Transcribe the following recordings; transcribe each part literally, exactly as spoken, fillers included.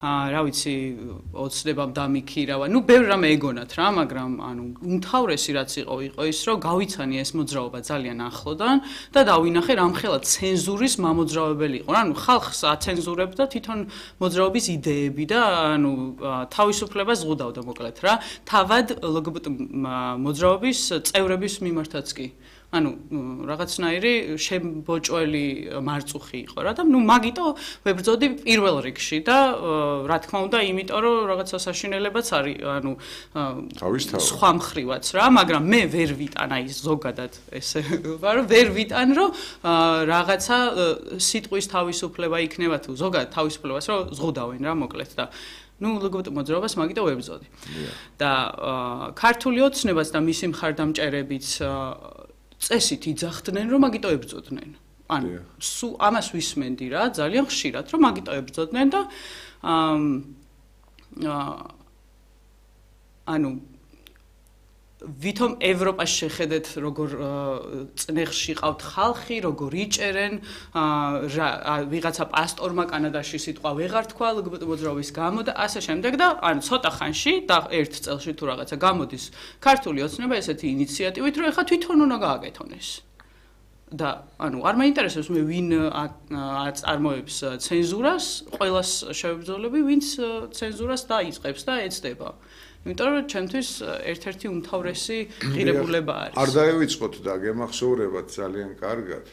რა ვიცი ოცნებამ დამიქირავა. ნუ ბევრ რამე ეგონათ რა, მაგრამ ანუ უმთავრესი რაც იყო იყო ის, რომ გავიცანი ეს მოძრაობა ძალიან ახლოდან და დავინახე რამხელა ცენზურის მამოძრავებელი იყო. ანუ ხალხს აცენზურებდა თვითონ მოძრაობის იდეები და ანუ თავისუფლებას ზღუდავდა მოკლედ რა. თავად ლგბტ მოძრაობის წევრების მიმართაც კი. ანუ რაღაცნაირი შემბოჭველი მარწუხი იყო რა და ნუ მაგიტო ვებრძოდი პირველ რიგში და რა თქმა უნდა იმიტომ რომ რაღაცა საშინელებაც არის ანუ სხვა მხრივაც რა მაგრამ მე ვერ ვიტან აი ზოგადად ესე ვარო ვერ ვიტან რომ რაღაცა სიტყვის თავისუფლება იქნება თუ ზოგადად თავისუფლებას რომ ზღუდავენ რა მოკლედ და ნუ ლგბტ მოძრაობას მაგიტო ვებრძოდი და ქართული ოცნებას და მისი მხარდამჭერებიც წესით იძახდნენ რომ მაგიტო ებრძოდნენ. ანუ სულ ამას ვისმენდი რა ძალიან ხშირად რომ მაგიტო ებრძოდნენ და ანუ ვითომ ევროპაში შეხედეთ როგორ წნეხში ყავთ ხალხი, როგორ იჭერენ, ვიღაცა პასტორმა კანადაში სიტყვა ვეღარ თქვა ლგბტ მოძრაობის გამო და ასე შემდეგ და ანუ ცოტა ხანში და ერთ წელში თუ რაღაცა გამოდის ქართული ოცნება ესეთი ინიციატივით, რომ ეხლა თვითონ უნდა გააკეთონ ეს. და ანუ არ მაინტერესებს მე ვინ აწარმოებს ცენზურას, ყველას შევებრძოლები, ვინც ცენზურას დაიწყებს და ეცდება. იმიტომ რომ ჩემთვის ერთ-ერთი უმთავრესი ღირებულება არის. არ დაივიწყოთ და გემახსოვრებათ ძალიან კარგად,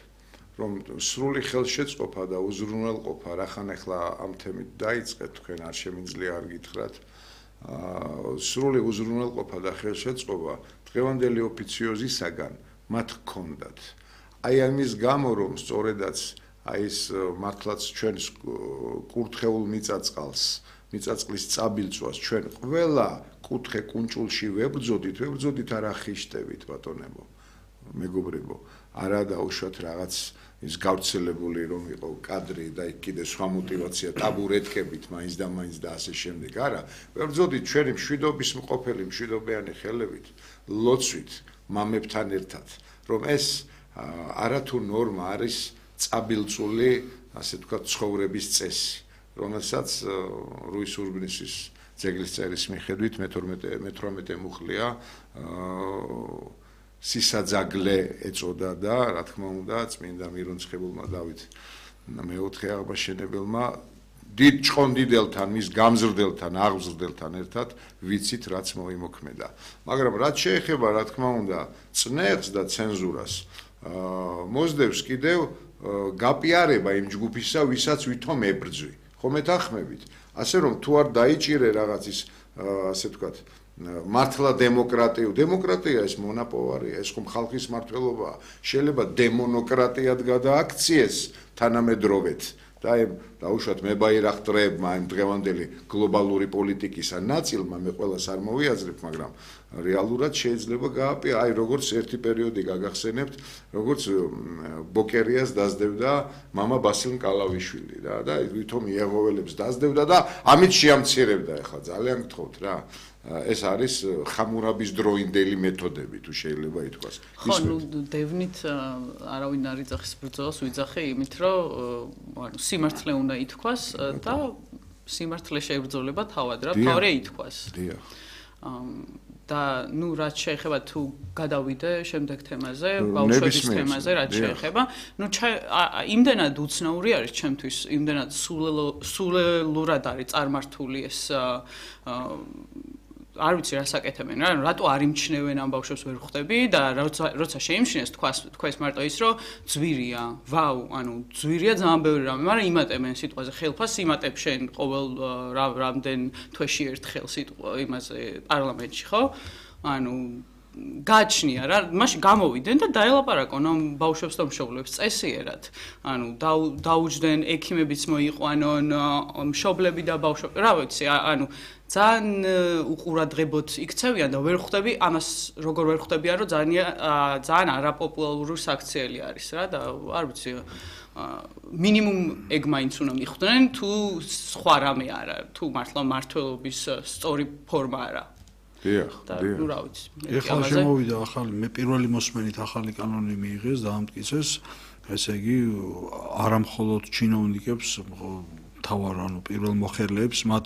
რომ სრული ხელშეწყობა და უზრუნველყოფა რახან ახლა ამ თემით დაიწყეთ, თქვენ არ შემიძლია არ გითხრათ. სრული უზრუნველყოფა და ხელშეწყობა დღევანდელი ოფიციოზისაგან მათ ჰქონდათ. აი ამის გამო რომ სწორედაც აი ეს მართლაც ჩვენს კურთხეულ მიწაწყალს მიწაწყლის წაბილწვას ჩვენ ყველა კუთხე კუნჭულში ვებრძოდით, ვებრძოდით არა ხიშტებით ბატონებო, მეგობრებო, არა დაუშვათ რაღაც ის გავრცელებული რომ იყო კადრი და იქ კიდე სხვა мотиваცია ტაბურეთკებით მაინც და მაინც და ასე შემდეგ, არა, ვებრძოდით ჩვენი მშვიდობის მყოფელი მშვიდობიანი ხელებით, ლოცვით, მამებთან ერთად, რომ ეს არათუ ნორმა არის წაბილწული, ასე ვთქვათ, ცხოვრების წესი. რომელსაც რუის ურბნისის ძეგლის წერის მიხედვით მეთორმეტე მუხლია სისაძაგლე ეწოდა და რა თქმა უნდა წმინდა მირონცხებულმა დავით მეოთხე აღმაშენებელმა დიდ ჭყონდიდელთან მის გამზრდელთან აღზრდელთან ერთად ვიცით რაც მოიმოქმედა მაგრამ რაც შეეხება რა თქმა უნდა წნეხს და ცენზურას მოსდევს კიდევ გაპიარება იმ ჯგუფისა ვისაც ვითომ ებრძვი ხომ ეთანხმებით ასე რომ თუ არ დაიჭირე რაღაც ის ასე ვთქვათ მართლა დემოკრატია დემოკრატია ეს მონაპოვარია ეს ხომ ხალხის მართლობაა შეიძლება დემონოკრატიად გადააქციეს თანამედროვეთ და აი დაუშვათ მებაირახტრებმა იმ დღევანდელი გლობალური პოლიტიკისა ნაწილმა მე ყველას არ მოვიაზრებ მაგრამ რეალურად შეიძლება გააპია აი როგორც ერთი პერიოდი გაგახსენებთ როგორც ბოკერიას დაძდევდა მამა ბასილ კალავიშვილი რა და ვითომ იეღოველებს დაძდევდა და ამით შეამცირებდა ახლა ძალიან გთხოვთ რა ეს არის ხამურაბის დროინდელი მეთოდები თუ შეიძლება ითქვას ხო ნუ დევნით არავინ არ იძახის ბრძოლას ვიძახე იმით რომ ანუ სიმართლე უნდა ითქვას და სიმართლე შეებრძოლება თავად რა თავი ითქვას დიახ და ნუ რაც შეეხება თუ გადავიდე შემდეგ თემაზე, ბავშვების თემაზე რაც შეეხება, ნუ იმდენად უცნაური არის ჩემთვის, იმდენად სულელურად არის წარმართული ეს არ ვიცი რა საკეთებენ რა, რატო არ იმჩნევენ ამ ბავშვებს ვერ ხვდები და როცა შეიმჩნეს თქვას თქვენს მარტო ის რომ ძვირია, ვაუ, ანუ ძვირია ძალიან ბევრი რამე, მაგრამ იმატებენ სიტყვაზე ხელფას იმატებ შენ ყოველ რამდენ თვეში ერთხელ სიტყვა იმაზე პარლამენტში, ხო? ანუ გაჩნია რა, მაშინ გამოვიდნენ და დაელაპარაკონ ამ ბავშვებს და მშობლებს წესიერად. ანუ დაუჯდნენ ექიმებიც მოიყვანონ, მშობლები და ბავშვები, რა ვიცი, ანუ ძალიან უყურადღებოდ იქცევიან და ვერ ხვდები ამას როგორ ვერ ხვდებიან რომ ძალიან ძალიან არაპოპულარული საქციელი არის რა და არ ვიცი მინიმუმ ეგ მაინც უნდა მიხვდნენ თუ სხვა რამე არა თუ მართლა მართლობის სწორი ფორმა არა დიახ დიახ ნუ რა ვიცი ეხლა შემოვიდა ახალი მე პირველი მოსმენით ახალი კანონი მიიღეს და ამტკიცეს ესე იგი არა მხოლოდ ჩინოვნიკებს თავარ ანუ პირველ მოხელეებს მათ